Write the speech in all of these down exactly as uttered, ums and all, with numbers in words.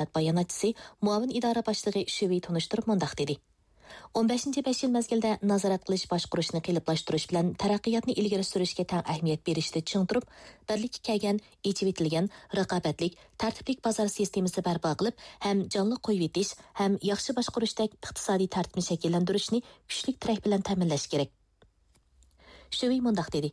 تىجارەت باياناتچىسى، مۇئاۋىن ئىدارە باشلىقى شۈۋېي تونۇشتۇرۇپ مۇنداق دېدى: ئون بەشىنچى بەش يىل مەزگىلدە نازارەت قىلىش باشقۇرۇشنى قېلىپلاشتۇرۇش بىلەن تەرەققىياتنى ئىلگىرى سۈرۈشكە تەڭ ئەھمىيەت بېرىشتە چىڭ تۇرۇپ، بىرلىككە كەلگەن، ئېچىۋېتىلگەن، رىقابەتلىك، تەرتىپلىك بازار سىستېمىسى بەرپا قىلىپ، ھەم جانلىق قويۇۋېتىش، ھەم ياخشى باشقۇرۇشتەك ئىقتىسادىي تەرتىپنى شەكىللەندۈرۈشنى كۈچلۈك تىرەك بىلەن تەمىنلەش كېرەك. شۈۋېي مۇنداق دېدى: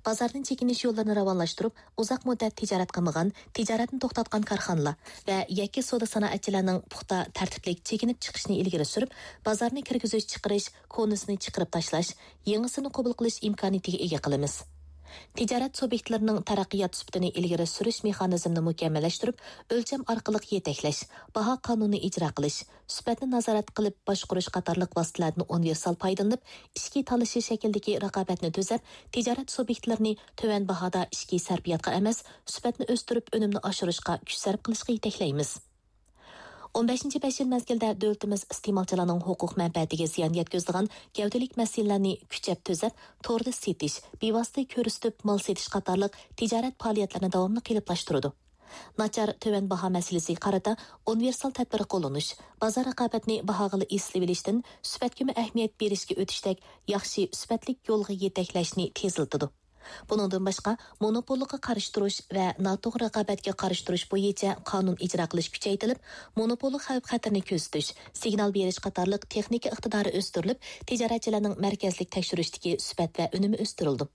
بازاردىن چېكىنىش يوللىرىنى راۋانلاشتۇرۇپ، ئۇزاق مۇددەت تىجارەت قىلمىغان، تىجارەتنى توختاتقان كارخانىلار ۋە يەككە سودا سانائەتچىلەرنىڭ پۇختا، تەرتىپلىك چېكىنىپ چىقىشىنى ئىلگىرى سۈرۈپ، بازارنى كىرگۈزۈش چىقىرىش، كونىسىنى چىقىرىپ تاشلاش، يېڭىسىنى قوبۇل قىلىش ئىمكانىيىتىگە ئىگە قىلىمىز. تىجارەت سۇبيېكتلىرىنىڭ تەرەققىيات سۈپىتىنى ئىلگىرى سۈرۈش مېخانىزمىنى مۇكەممەللەشتۈرۈپ، ئۆلچەم ئارقىلىق يېتەكلەش، باھا قانۇنىنى ئىجرا قىلىش، سۈپەتنى نازارەت قىلىپ باشقۇرۇش قاتارلىق ۋاسىتىلەرنى ئۇنىۋېرسال پايدىلىنىپ، ئىچكى تالىشىش شەكلىدىكى رىقابەتنى تۈزەپ، تىجارەت سۇبيېكتلىرىنى تۆۋەن باھادا ئىچكى سەرپىياتقا ئەمەس، سۈپەتنى ئۆستۈرۈپ، ئۈنۈمنى ئاشۇرۇشقا كۈچ سەرپ قىلىشقا يېتەكلەيمىز. ئون بەشىنچى بەش يىل مەزگىلدە دۆلىتىمىز ئىستېمالچىلارنىڭ ھوقۇق مەنپەئەتىگە زىيان يەتكۈزىدىغان گەۋدىلىك مەسىلىلەرنى كۈچەپ تۈزەپ، توردا سېتىش، بىۋاسىتە كۆرسىتىپ مال سېتىش قاتارلىق تىجارەت پائالىيەتلىرىنى داۋاملىق قېلىپلاشتۇرىدۇ. ناچار تۆۋەن باھا مەسىلىسىگە قارىتا ئۇنىۋېرسال تەدبىر قوللىنىش، بازار رىقابەتنى باھاغىلا ئېسىلىۋېلىشتىن سۈپەتكىمۇ ئەھمىيەت بېرىشكە ئۆتۈشتەك ياخشى سۈپەتلىك يولغا يېتەكلەشنى تېزلىتىدۇ. بۇنىڭدىن باشقا، مونوپوللۇققا قارشى تۇرۇش ۋە ناتوغرا رىقابەتكە قارشى تۇرۇش بويىچە قانۇن ئىجرا قىلىش كۈچەيتىلىپ، مونوپوللۇق خەۋپ-خەتىرىنى كۆزىتىش، سىگنال بېرىش قاتارلىق تېخنىكا ئىقتىدارى ئۆستۈرۈلۈپ، تىجارەتچىلەرنىڭ مەركەزلىك تەكشۈرۈشتىكى سۈپەت ۋە ئۈنۈمى ئۆستۈرۈلىدۇ.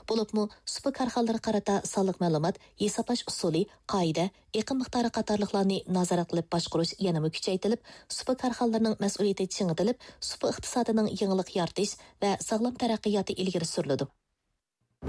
بولۇپمۇ، سۇپا كارخانىلىرىغا قارىتا سانلىق مەلۇمات، ھېسابلاش ئۇسۇلى، قائىدە، ئېقىم مىقدارى قاتارلىقلارنى نازارەت قىلىپ باشقۇرۇش يەنىمۇ كۈچەيتىلىپ، سۇپا كارخانىلىرىنىڭ مەسئۇلىيىتى چىڭىتىلىپ، سۇپا ئىقتىسادىنىڭ يېڭىلىق يارىتىش ۋە ساغلام تەرەققىياتى ئىلگىرى سۈرۈلىدۇ.